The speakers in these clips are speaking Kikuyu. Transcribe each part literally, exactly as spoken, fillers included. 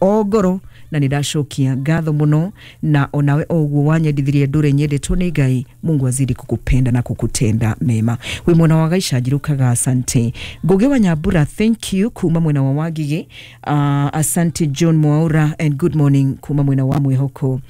O ngoro na nĩ ndacokia ngatho mũno, na onawe o ũguo wanyendithirie ndũre nyendetwo nĩ Ngai. Mungu azidi kukupenda na kukutenda mema. Wĩ mwena wa Gaicanjirukaga, asante. Ngugi wa Nyambura, thank you kuma mwena wa Wangige. uh, asante John Mwaura and good morning kuma mwena wa Mwihoko,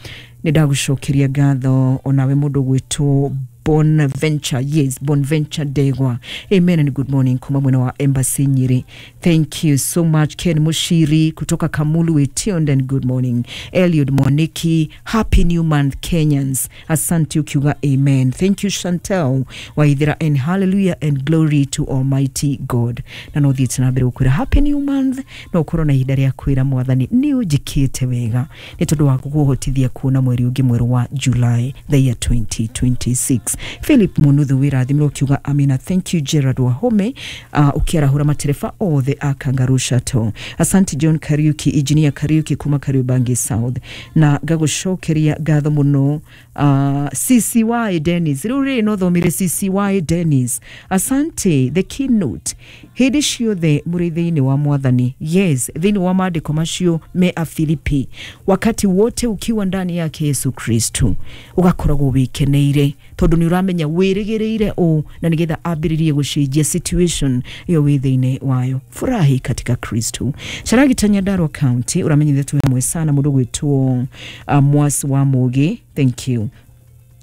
nĩ ndagũcokeria ngatho. Onawe mũndũ gwĩtwo Bonventure, yes, Bonventure Degwa, amen and good morning kuma mwena wa Embassy Nyeri. Thank you so much. Ken Mushiri kutoka Kamulu Wetiond and good morning. Eliud Mwaniki, happy new month Kenyans, asante ukiuga amen. Thank you Chantel Waithira and hallelujah and glory to Almighty God. Na no thiĩte na mbere gũkwĩra happy new month, no ũkorwo na ihinda rĩa kwĩra Mwathani nĩ ũnjĩkĩte wega nĩ tondũ wa gũkũhotithia kuona mweri ũngĩ mwerũ wa July the year twenty twenty-six. Philip Munuthu, wĩrathimĩrwo ukiuga amina. Thank you Gerard Wahome, uh, ũkĩarahũra matereba othe a Kangaroo Shuttle. Asante John Kariuki, Engineer Kariuki kuma Kariobangi South, na ngagũcokeria ngatho mũno. uh, C C Y Dennis, rĩu rĩ no thomire C C Y Dennis, asante. The keynote, hĩndĩ ciothe mũrĩ thĩinĩ wa Mwathani. Yes, thĩinĩ wa maandĩko macio me a Filipi, wakati wote ukiwa ndani yake Yesu Kristo ũgakoragwo wĩkeneire tondũ nĩ ũramenya wĩrĩgĩrĩire ũ na nĩgetha ambĩrĩrie gũcenjia situation ĩyo wĩ thĩinĩ wayo. Furahi katika Kristo. Caragita Nyandarua County, ũramenyithia twĩ hamwe sana. Mũndũ gwĩtwo uh, Mwasi wa Mũgĩ, thank you.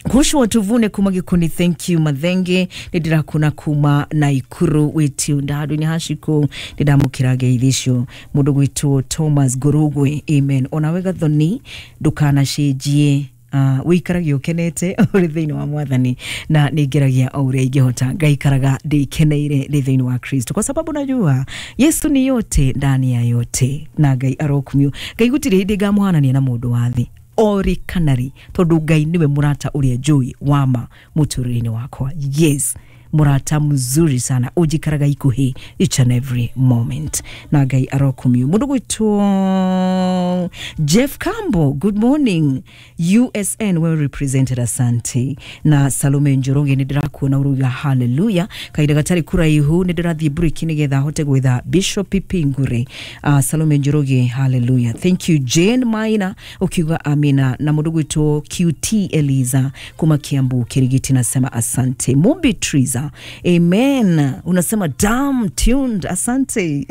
Kushwa tuvune kuma Gikuni, thank you. Mathenge, nĩ ndĩrakuna kuma Naikuru, wĩtiunda handũ-inĩ haciko, nĩ ndamũkĩra ngeithi icio. Mũndũ gwĩtwo Thomas Ngũrũgwe, amen. Onawe Gathoni, ndũkanacenjie, uh, wĩikarage ũkenete ũrĩ thĩinĩ wa Mwathani, na nĩ ngeragia o ũrĩa ingĩhota ngaikaraga ndĩkeneire ndĩ thĩinĩ wa Kristo, kwa sababu najua Yesu ni yote ndani ya yote. Na Ngai arokumio. Ngai gũtirĩ hĩndĩ ngamuhanania na mũndũ wa thĩ ori kanari, tondũ Ngai nĩwe mũrata ũrĩa njũĩ wa ma mũtũrĩre-inĩ wakwa. Yes, mũrata mzuri sana ũnjikaraga ikuhĩ each and every moment, na Ngai arokumio. Mũndũ gwĩtwo Jeff Campbell, good morning. U S N well represented, asante. Na Salome Njoroge, nĩ ndĩrakuona ũrauga hallelujah. Kahinda gatarĩ kũraihu nĩ ndĩrathiĩ break nĩgetha hote gwetha Bishop Pingure. uh, Salome Njoroge, hallelujah, thank you. Jane Maina ukiuga amina, na mũndũ gwĩtwo Q T Eliza kuma Kiambu Kirigiti, nasema asante. Mumbi Triza, amen, unasema damn tuned, asante.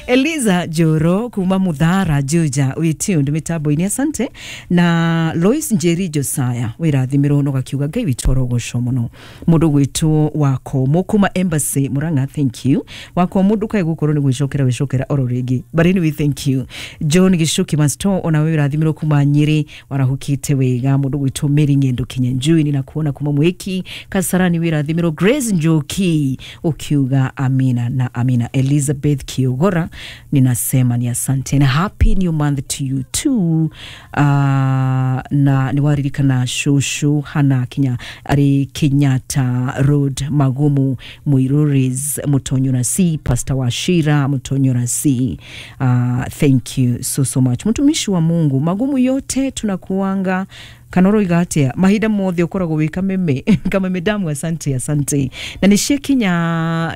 Eliza Joro kuma Muthara Juja, we tuned mitambo-inĩ, asante. Na Lois Njeri Josiah, wĩrathimĩrwo no gakiuga Ngai witũ arogocwo mũno. Mũndũ gwĩtwo Wakomo kuma Embassy Murang'a, thank you Wakomo. Ndũkae gũkorwo nĩ gwĩcokera gwĩcokera oro rĩngĩ, but anyway, thank you. John Gicuki Masto, ona we wĩrathimĩrwo kuma Nyĩrĩ, warahũkĩte wega. Mũndũ gwĩtwo Mary Ng'endo Kinyanjui, ninakuona kuma Mwiki Kasarani, wĩrathimĩrwo. Grace Njoki ukiuga amina na amina. Elizabeth Kiogora, ninasema ni asante na happy new month to you too. uh, na nĩ waririkana shushu Hana Kinya arĩ Kenyatta Road Magumu Muiruris Mutonyora C, Pastor Washira Mutonyora C, uh, thank you so so much, mtumishi wa Mungu. Magumu yote tunakuanga kanoro atia mahinda mothe ukoragwo wi kameme kameme damu. Asante, asante. Na nĩ ciakinya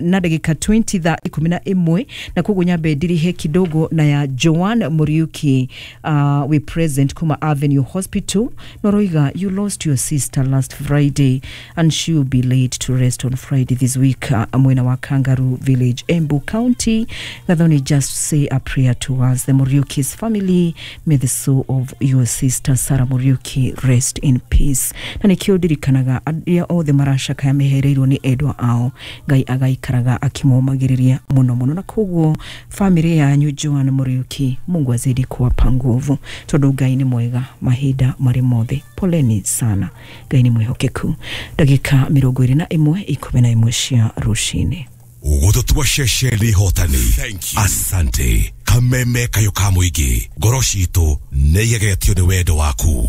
na ndagĩka mĩrongo ĩĩrĩ thaa ikũmi na ĩmwe, na koguo nyambe ndirihe kidogo na ya Joan Muriuki, uh, we present kuma Avenue Hospital. Noroiga you lost your sister last Friday and she will be laid to rest on Friday this week, uh, mwena wa Kangaroo Village, Embu County. Gathoni, just say a prayer to us, the Muriuki's family. May the soul of your sister Sarah Muriuki rest in peace. Na nikio ndirikanaga arĩa othe maracakaya mehereirwo nĩ endwa ao, Ngai agaikaraga akĩmomagĩrĩria mũno mũno, na koguo family yanyu Joan Muriuki, Mungu azidi kuwapa nguvu, tondũ Ngai nĩ mwega mahinda marĩ mothe. Poleni sana, Ngai nĩ mwĩhokeku. Ndagĩka mĩrongo ĩrĩ na ĩmwe ikũmi na ĩmwe cia rũcinĩ. Gũtũtua ceceni hotani. Asante. Kameme kayo ka mũingĩ, ngoro citũ nĩ igegetio nĩ wendo waku.